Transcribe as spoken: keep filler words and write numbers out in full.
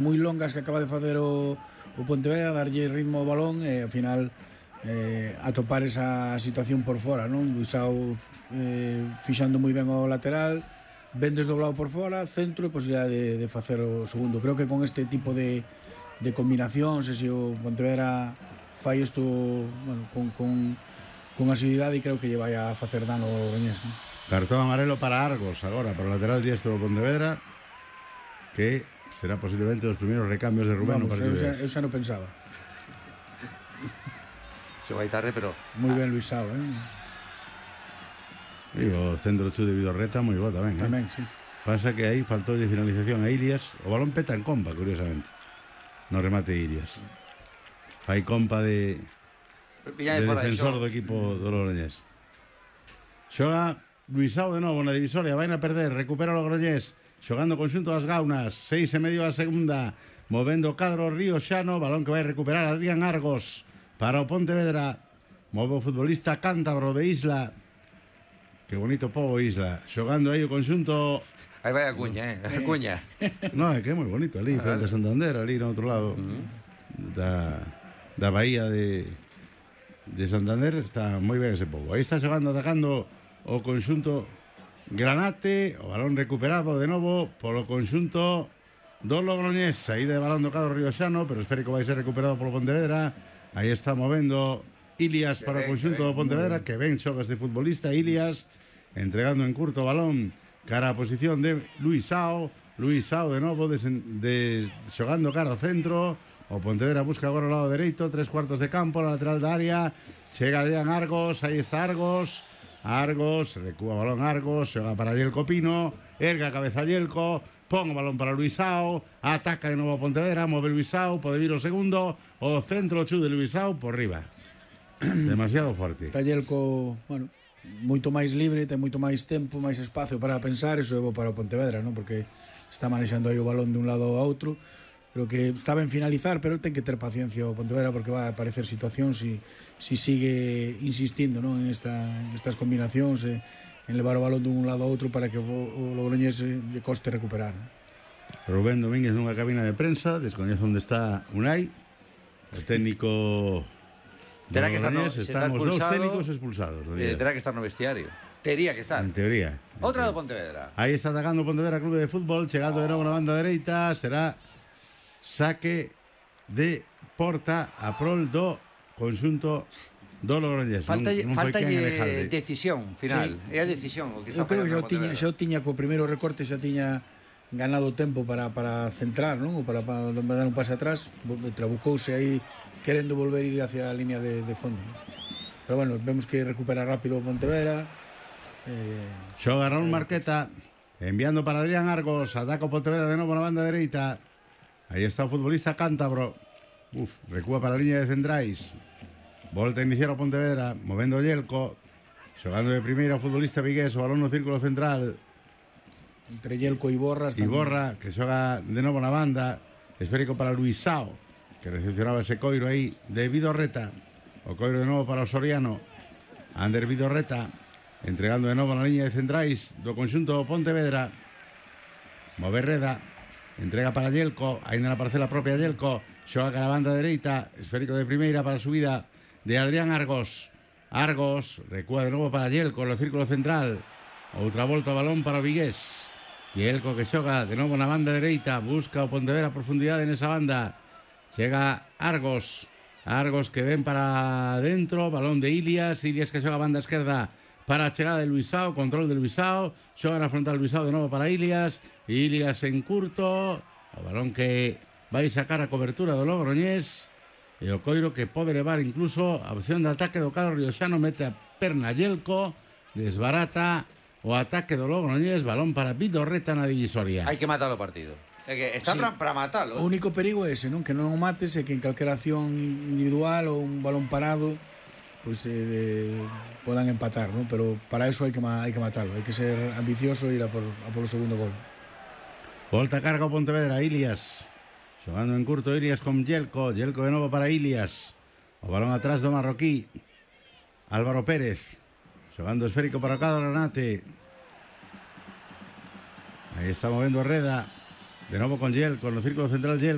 moi longas que acaba de facer o, o Pontevedra, darlle ritmo ao balón e ao final eh, atopar esa situación por fora, non? Luisao eh, fixando moi ben o lateral, ben desdoblado por fora, centro e posibilidade de, de facer o segundo. Creo que con este tipo de, de combinacións, se o Pontevedra fai isto, bueno, con, con, con asiduidade, creo que lle vai a facer dano ao Logroñés, non? Cartón amarelo para Argos agora, para o lateral diestro do Pontevedra, que será posiblemente os primeiros recambios de Rubén. Vamos, eu xa, eu xa non pensaba. Se vai tarde, pero... Moi ben Luisao, eh? E o centro chu de Vidorreta moi bo tamén, eh? Tamén, sí. Pasa que aí faltou de finalización a Ilias. O balón peta en compa, curiosamente, no remate de Ilias. Fai compa de, de defensor do equipo do Logroñés. Xoga Luisao de novo na divisoria, vai a perder, recupera o Logroñés, xogando conxunto das Gaunas, seis e medio a segunda, movendo o cadro Río Xano, balón que vai recuperar Adrián Argos para o Pontevedra, move o futbolista cántabro de Isla, que bonito pobo Isla, xogando aí o conxunto. Aí vai a cuña, eh, a cuña. No, é que é moi bonito ali, frente a Santander, ali no outro lado da, da bahía de, de Santander, está moi ben ese pobo. Aí está xogando, atacando o conxunto Granate, o balón recuperado de novo polo conxunto do Logroñés, saída de balón do cadro Río Xano, pero esférico vai ser recuperado polo Pontevedra. Aí está movendo Ilias para o conxunto do Pontevedra, que ben xoga este futbolista. Ilias entregando en curto o balón cara a posición de Luisao. Luisao de novo de, de, xogando cara ao centro. O Pontevedra busca agora o lado dereito, tres cuartos de campo, na lateral da área. Chega Dean Argos, aí está Argos. Argos, recúa o balón Argos, xoga para Yelko Pino, erga a cabeza Yelko, pon o balón para Luisao, ataca de novo a Pontevedra, move Luisao, pode vir o segundo, o centro chu de Luisao por riba. Demasiado forte. Está Yelko, bueno, moito máis libre, ten moito máis tempo, máis espacio para pensar, iso é bo para o Pontevedra, non? Porque está manexando aí o balón de un lado ao outro. Creo que está ben finalizar, pero ten que ter paciencia o Pontevedra, porque vai a aparecer situacións si, si sigue insistindo, non, en esta, estas combinacións, eh, en levar o balón dun lado a outro para que o, o Logroñés lle coste recuperar. Rubén Domínguez nunha cabina de prensa, descoñece onde está Unai, o técnico terá que estar no, están os dous técnicos expulsados. Eh, terá que estar no vestiario. Tería que estar. En teoría. Outra do Pontevedra. Aí está atacando o Pontevedra Clube de Fútbol, chegando de novo na banda dereita, será saque de porta a prol do conxunto do Logroñés. Falta non, non faltalle decisión final. Sí. É a decisión o que está facendo. Eu creo que xa tiña, xa tiña co primeiro recorte, xa tiña ganado tempo para, para centrar, non? Ou para, para dar un pase atrás, trabucouse aí querendo volver ir hacia a línea de, de fondo. Pero bueno, vemos que recupera rápido o Pontevedra. Eh, Xoga Raúl eh, Marqueta enviando para Adrián Argos, ataca o Pontevedra de novo na banda dereita. Aí está o futbolista cántabro. Uf, recúa para a liña de centrais. Volta a iniciar o Pontevedra, movendo o Yelko, xogando de primeira o futbolista vigués, o balón no círculo central. Entre Yelko e Iborra. Iborra, que xoga de novo na banda. Esférico para Luisao, que recepcionaba ese coiro aí de Vidorreta. O coiro de novo para o Soriano. Ander Vidorreta, entregando de novo na liña de centrais do conxunto do Pontevedra. Move Reda, entrega para Yelko, ainda na parcela propia Yelko, xoga cara a banda dereita, esférico de primeira para a subida de Adrián Argos. Argos recúa de novo para Yelko no círculo central. Outra volta o balón para o vigués. Yelko que xoga de novo na banda dereita, busca o Pontevedra a profundidade nesa banda. Chega Argos. Argos que ven para dentro, balón de Ilias, Ilias que xoga a banda esquerda para a chegada de Luisao, control de Luisao, xoga na frontal Luisao de novo para Ilias, Ilias en curto, o balón que vai sacar a cobertura do Logroñés, e o coiro que pode levar incluso a opción de ataque do cadro rioxano, mete a perna Yelko, desbarata o ataque do Logroñés, balón para Vidorreta na divisoria. Hai que matar o partido. É que está sí. para matalo. O único perigo é ese, non? Que non o mates e que en calquera acción individual ou un balón parado pois pues, eh, podan empatar, ¿no? Pero para eso hai que, hai que matarlo, hai que ser ambicioso e ir a por, a por o segundo gol. Volta carga o Pontevedra, Ilias xogando en curto, Ilias con Yelko, Yelko de novo para Ilias, o balón atrás do marroquí Álvaro Pérez, xogando esférico para o cadro Granate. Aí está movendo Reda de novo con Yelko no círculo central. Yelko